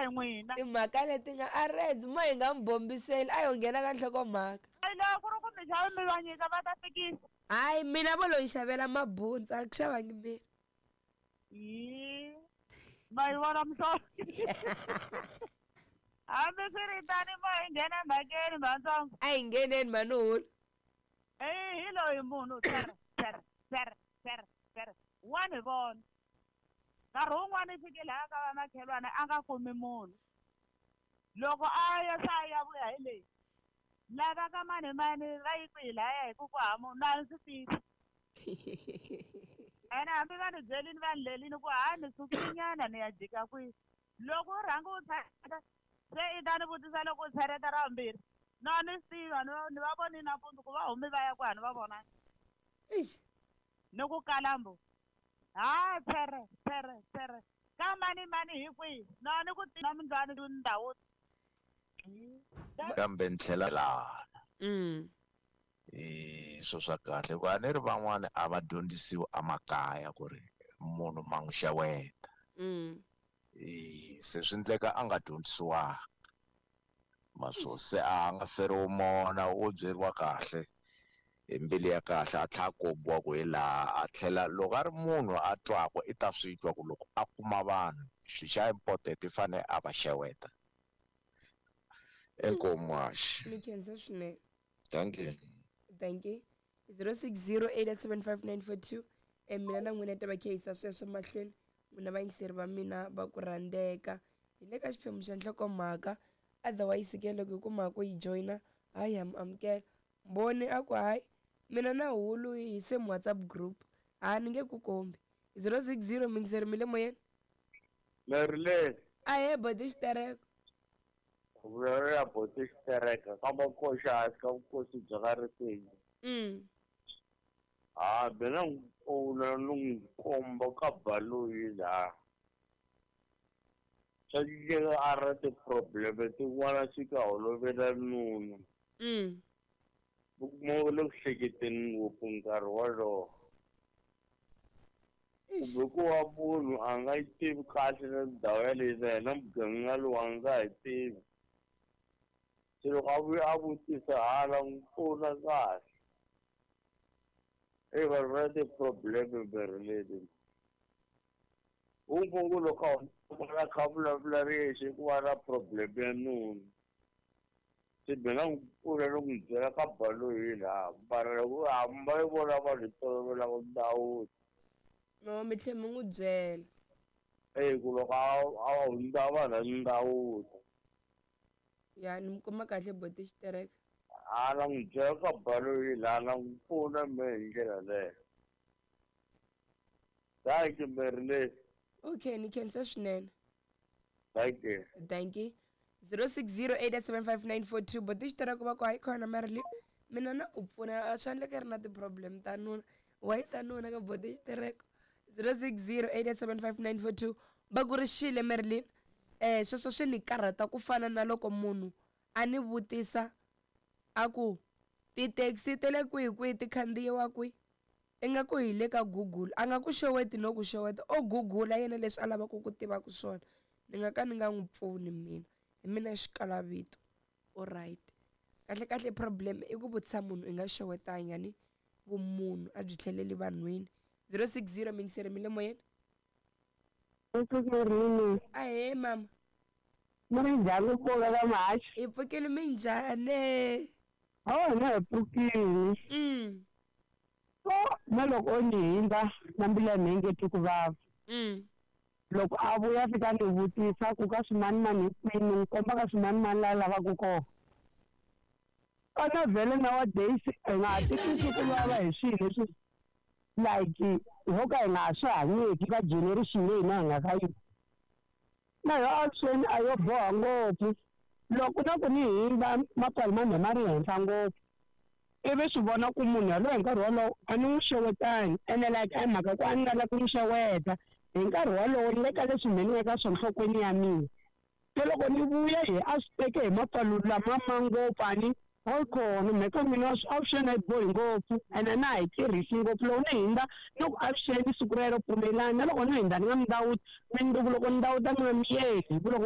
hi n'wina. Timhaka leti nga a redzi mo hi nga mi bombiseli a yo nghena ka nhlokomhaka. Hayi loko ku ri ku mi xave mi va nyika va ta fikisa. Hayi mina vo lo ni xavela mabuntsu a ku xavangi mina. Yi ma yi vona muhlovo. Hambiswiritano mo hi nghena emhakeni mhantsongo. A hi ngheneni mhani hulu. Eyi hi loyi munhu tsere tsere tsere tsere tsere wa ni vona. Nkarhi wun'wani i fike lahaya ka vamakhelwani a nga kumi munhu. Loko a ya se a ya vuya hi leyi lava ka mani mani va yi kwihi lahaya hi ku ku hava munhu a ni swi tivi. Ene hambi va ni byelini va ni lelini ku ha ni sukile nyana ni ya jika kwihi. Loko u rhanga u tshereta se i ta ni vutisa loko u tshereta ra vumbirhi. No a ni swi tivi a ni va ni va voni nampundzu ku va humi va ya kwihi a ni va vonangi. Eish. Ni ku kalambu ha tshere tshere tshere ka mani mani hi kwihi no a ni ku na mindlwani ndhawu. Kambe ni tlhela lana. I swo swa kahle hikuva a ni ri van'wani a va dyondzisiwi emakaya ku ri munhu ma n'wi xeweta. Se swi endleka a nga dyondzisiwanga ma swo se a nga feriwi mona wo byeriwa kahle hi mbilu ya kahle a tlhela a kombiwa ku hi laha a tlhela loko a ri munhu a twaka i ta swi twa ku loko a kuma vanhu xi xa important i fanele a va xeweta. Inkomu haxi. Mi khensa swinene. Thank you. Thank you. 06087594 mina na n'wina ta va khehisa sweswo mahlweni n'wina vayingiseri va mina va ku rhandzeka hi le ka xiphemu xa nhlokomhaka otherwise ke loko hi kuma ku yi joyina hayi ha mi amukela mbhoni a ku hayi mina na hulu hi same WhatsApp group ha ni nge ku kombi 060 muyingiseri mi le moyeni. Mary Ahee boti xitereko. Vulavula boti xitereka ka makoxa hansi ka vukosi bya ka Ripenyi. Ha mina n'wi pfuna ni n'wi komba ka baloyi laha. Swa endleka a ri na ti-problem tin'wana swi ka holovela nuna. U kuma u le ku hleketeni ngopfu nkarhi wolowo. Kumbe ku va munhu a nga yi tivi kahle na ndhawu yaleyo na yena muganga lowu a nga ha yi tivi. Se loko a vuya a vutisa hala n'wi pfuna kahle. Eyi vanhu va na ti-problem mirhi. U ku loko a kha a vulavula ri yexe ku va na problem ya nuna. Se mina n'wi pfuna ni n'wi byela ka baloyi laha mara loko hamba yi vona vanhu hi tolovelaka ndhawu. No mi tlhe mi n'wi byela. Eyi ku loko a hundza vanhu a ndhawu. Ya ni mi kuma kahle boti xitereka. A na n'wi byela ka baloyi laha na n'wi pfuna me hi ndlela leyo. Thank you Mary. Okay, ni khensa swinene. Thank you. Thank you. 06087594 boti xitereka va ku hayi khona Marilyn mina na ku pfuna a swi endleka ri na ti-problem ta nuna wa yi ta nuna ka boti xitereko 06087594 va ku ri xile Marilyn sweswo swi ni karhata ku fana na loko munhu a ni vutisa a ku ti-taxi ta le kwihi kwihi ti khandziyiwa kwihi ingaku hi le ka Google a nga ku xeweti no ku xeweta o Google yena leswi a lavaka ku tivaka swona ni nga ka ni nga n'wi pfuni mina hi mina xikalavito alright kahle kahle problem i ku vutisa munhu i nga xewetanga ni vumunhu a byi tlheleli vanhwini 060 mingiseri mi le moyeni. Ahee mama. Mi njhani ku pfuka ka mahaxi? Hi pfukile minjhani? Oh na hi pfukile. So na loko o ni hindza na mbilu ya mina yi nge twi ku vava. Loko a vuya fika ni vutisa ku ka swimanimani hi kwini ni n'wi komba ka swimanimani laha lavaka kona. Kana vhele nowadays hi nga ha titwisi ku vava hi swilo leswi like ho ka hi nga ha swi hanyeki ka generation leyi hina hi nga ka yona. Na yo avuxeni a yo boha ngopfu loko na ku ni hindza mapfalo ma mina ma ri henhla ngopfu ivi swi vona ku munhu yaloye hi nkarhi wolowo a ni n'wi xewetangi ene like a hi mhaka ku a ni nga lavi ku n'wi xeweta hi nkarhi wolowo ni le ka leswi me ni nga ka swona nhlokweni ya mina. Se loko ni vuya hi a swi teke hi mapfalo lama ma ngopfu a ni a kona mhaka mina avuxeni a yi bohi ngopfu ene na ha yi tirhisi ngopfu loko ni hindza ni ku avuxeni siku rero pfumelani na loko ni hindza ni nga mi ndawuti mundzuku loko ni ndawuta ni nga miyeli hi ku loko.